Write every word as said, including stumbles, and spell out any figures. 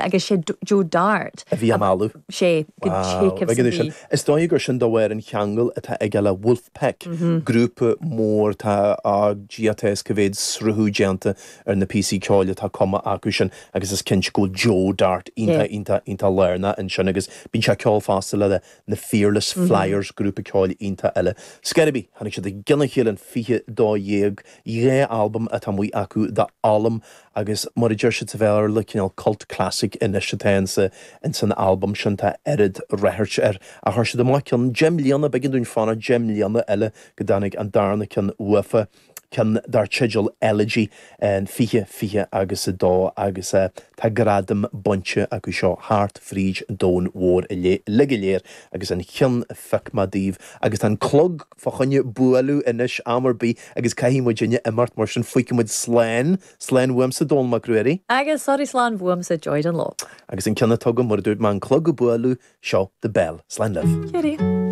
Agus sé Joe Dart a bhí á mealladh. Sé go sin. Is dóigh gur sin de bharr an cheangal atá aige le Wolfpack, mhm. grúpa mór tá a G T S go bhféad sruthú déanta ar na píosaí ceoil atá cumtha acu sin agus is cinnte go Joe Dart iontach iontach iontach lárnach ansin agus bíonn sé ceol fosta le na Fearless mm -hmm. Flyers grúpa ceoil iontach eile. Scairbí tháinig siad i gcionn a chéile an fiche dó dhéag dhá albam atá amuigh acu The Ollam agus mar a deir siad sa Bhéarla cineál cult classic anois atá insa insan albam sin tá oiread ráchairt air a chuir siad amach ceann deich mbliana b'éigean dúinn fanacht deich mbliana eile go dtáinig an darna ceann uafa ceann dar teideal Elegy an fiche fiche agus a dó agus uh, tá gradam bainte acu seo thart fríd an domhan mhór uilig go léir agus an ceann a phioc mé daoibh agus tá an clog fá choinne bualadh anois am ar bith agus caithfidh muid imeacht mar sin fágfaidh muid slán slán uaimse Dónall Mac Ruairí. Agus sorry slán uaimse Joy Dunlop. Agus an ceann atá agam mar dúirt mé an clog ag bualadh seo The Bell slán libh. Kitty.